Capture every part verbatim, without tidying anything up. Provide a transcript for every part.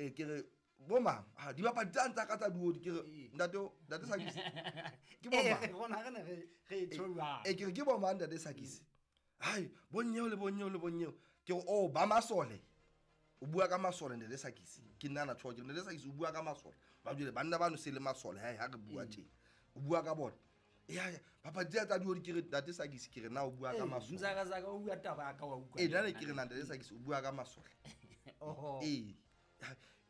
Eh, ke re bo mang ha dibapadi tsane tsa ka tsa duodi, ke re ntate ntate Sakisi, ke bo Eh, mang? Rona re ne re re e tjho jwalo. E ke re ke bo mang, ntate Sakisi? Hai, bonyeo le bonyeo le bonyeo. Ke re, oh, ba masole, o bua ka masole, ntate Sakisi? Ke nna na tjho, ke re, ntate Sakisi, o bua ka masole ba jwale banna bano se le masole hae ha re bua tje, o bua ka bona ya papadi tsena tsa duodi? Ke re, ntate Sakisi, ke re na o bua ka masole? Mzakazaka, o bua taba ya ka, wa utlwa. Ee, nna ne ke re na ntate Sakisi, o bua ka masole? Oho. Ee.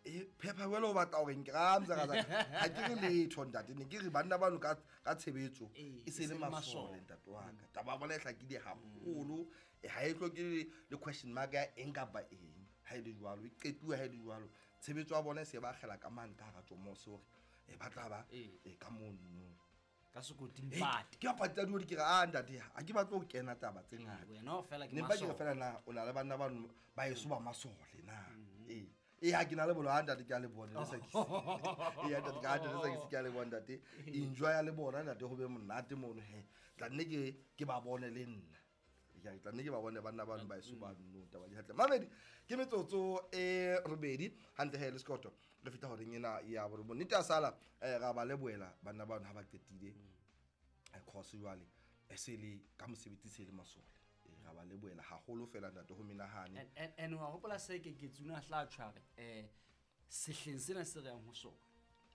E phepha jwale o batla hore nke ra Mzakazaka, ha ke re letho, ntate, ne ke re banna bano ka ka tshebetso Ee, e se e le se le masole. Masole. Ntate wa ka, taba ya bona e hlakile haholo. E ha e hloke le le question mark ya eng kapa eng. Ha e le jwalo, e qetuwe. Ha e le jwalo, tshebetso ya bona e se ba akgela ka mane ka hara tjomose hore e ba tla ba Ee. e ka mono ka sekoting Hey, pate. Ke bapadi tsa duodi. Ke re, a ntate, ha ke batle ho kena taba tse ngata. Wena o fela ke Ne mpa ke re masole. fela na o na le banna bano ba eso ba masole na? Ee, ee, ha ke na le bona. Ha ntate, ke a le bona le Sakisi. Ee, ntate, ke a ntate Sakisi, ke a le bona, ntate. Enjoy le bona, ntate, ho be monate mono he. Tla nne ke ke ba bone le nna. Ya, tla nne ke ba bone banna bano ba eso ba no taba di hantle. Mamedi, ke metsotso e robedi hantle he le sekoto re fihla horeng ena ya borobong. Nnete ya sala, eh, ra ba lebohela banna bano ha ba qetile eh, course jwale e se le ka mosebetsi, se le masole. Eh, ra ba lebohela haholo fela, ntate, ho menahane. And- and and wa hopola se ke ke tsuna hla tshware eh sehleng sena se re yang ho sona,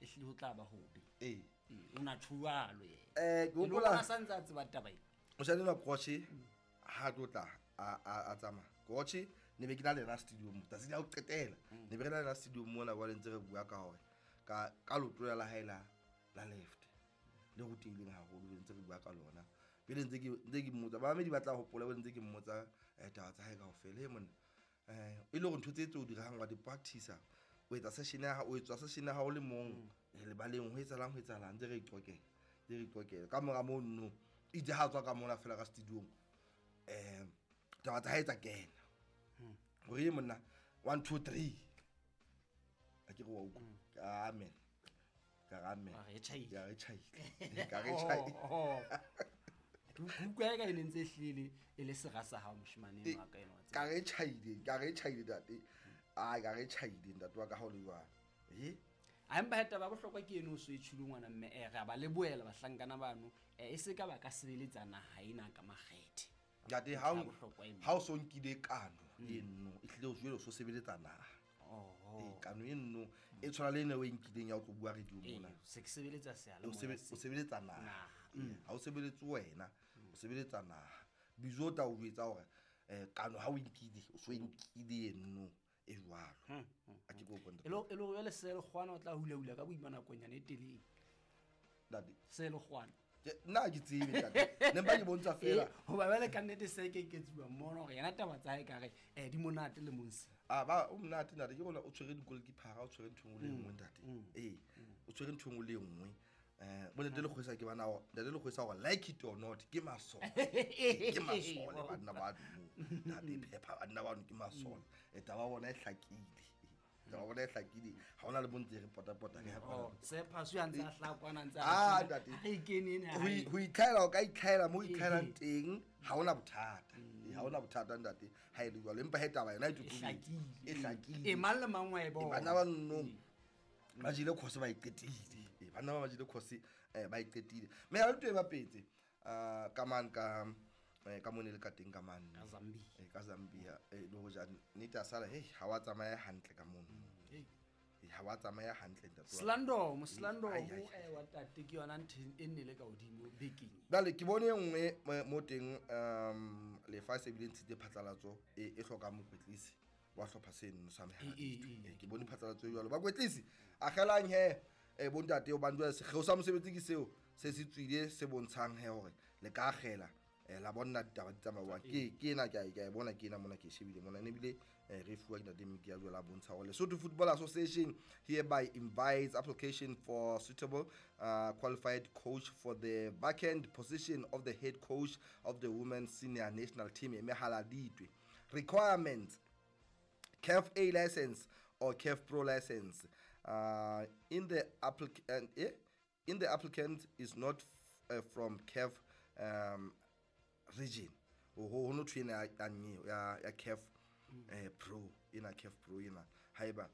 e hlile ho tla ba hobe. Ee. Ee, o na tjhualo yena. Eh, ke E le hopola- hore a sa ntse a tseba taba ena. Mosadi enwa Kroche ha tlo tla a a a tsamaya Kroche, ne be ke na le yena studio mo tsatsi la ho qetela, ne be re na le yena studio mona jwale, ntse re bua ka hore ka ka leoto la hae la la left le rutehileng haholo, be ntse re bua ka lona pele, ntse ke ntse ke mmotsa, bamamedi ba tla hopola, be ntse ke mmotsa eh, taba tsa hae kaofela. He monna, eh e le hore ntho tse tse o dirang wa di practice, o etsa session ya hao, o etsa session ya hao le mong eh, lebaleng, ho etsahalang, ho etsahalang? Ntse re iqokela, ntse re iqokela. Ka mora moo no itse ha tswa ka mona fela ka studiong, um taba tsa hae tsa kena hore ye monna, one two three, a ke re wa utlwa? Ka amen, ka re amen. Wa re e tjhaile. Ka re tjhaile, ka re tjhaile. Oh, oh. Ke utlwa eka e ne ntse e hlile e le sera sa hao, moshemane enwa ka enwa wa tseba. Ka re tjhaile, ka re tjhaile, ntate, ai, ka re tjhaile, ntate wa ka, ha o le jwalo e. A empa he, taba ya bohlokwa ke eno o so e tjhilo, ngwana mme. eh, re a ba lebohela bahlankana bano, eh, e se ka ba ka sebeletsa naha ena ka makgethe. Ntate, ha Ntho ya o bohlokwa eno. Ha o so nkile kano eno, e hlile o jwale o so sebeletsa naha. Oho. Ee, kano eno e tshwana le ene o e nkileng ya o tlo bua radio Ee, mona. se ke sebeletsa O seyalemoya sebe- se. O sebeletsa naha. Naha. Ee, ha o sebeletse wena, o sebeletsa naha. Bizo o tla o jwetsa hore um kano ha o e nkile, o so e nkile eno e jwalo. A ke ko E le e le hore jwale selekgwana o tla hula-hula ka boima nakonyana e telele. Ntate. Selekgwana. Ke- nna ha ke tsebe, ntate, ne mpa ke bontsha fela. Ee, hoba jwale ka nnete se ke ketsuwa mona hore yena taba tsa hae kare um di monate le monse. A ba o monate, ntate, ke rona o tshwere di-goalkeepera, o tshwere ntho e nngwe le e nngwe, ntate. Ee, o tshwere ntho e nngwe le e nngwe. um bo ntate Lekgwesa, ke bana ntate Lekgwesa hore like it or not, ke masole, ke masole banna bano, ntate phepha, banna bano ke masole. E taba ya bona e hlakile, taba ya bona e hlakile, ha hona le bo ntse re potapota re ya kwana. Oh, sephaso ya ntse a hlaha kwana, ntse a Ah, re- ntate. ha re kene ena Ho hae. i- ho itlhaela, o ka itlhaela mo o itlhaelang Ehe. teng, ha hona bothata. Ee, ha hona bothata, ntate, ha e le jwalo, empa he taba yona e E totobetse. hlakile. E hlakile. Ee, mang le mang wa e bona. Bana ba nnong ba jele course, ba e qetile. Ee, banna ba ba jele course, um ba e qetile, mme ha le to e bapetse um ka mane ka eh, ka mone le ka teng ka mane. Ka Zambia. Eh, ka Zambia, eh, le hoja nnete a sala hei, ha wa tsamaya hantle ka mono. Hey. Eh, ha wa tsamaya hantle, ntate wa ka. Slandomo, Slandomo, Ai, ai, ai. eh, wa tate, ke yona ntho e nne le ka hodimo bekeng. Jwale ke bone e nngwe mo- mo teng um lefa se bile ntshitse phatlalatso e e hlokang mokwetlisi wa hlopha seno sa Mehaladitwe. E, e, e. Eh, ke bone phatlalatso e jwalo, bakwetlisi agelang he um bontate, hobane jwale sekgeo sa mosebetsi ke seo se se tswile, se bontshang he hore le ka akgela eh, la bona ditaba di tsamauwang. Ke ke ena, ke a e- ke a e bona, ke ena mona, ke e shebile mona. Ne ebile eh, re e fuwa ke ntate Miki ya jwale a bontsha hore Lesotho Football Association hereby invites application for suitable uh, qualified coach for the vacant position of the head coach of the women's senior national team Mehaladitwe. Requirements: CAF A license or CAF Pro license. Uh, in the applicant, eh? in the applicant is not f- uh, from CAF um, region. Ho ho no thwe ena ya ya ya ya CAF eh, Pro, ena CAF Pro ena haeba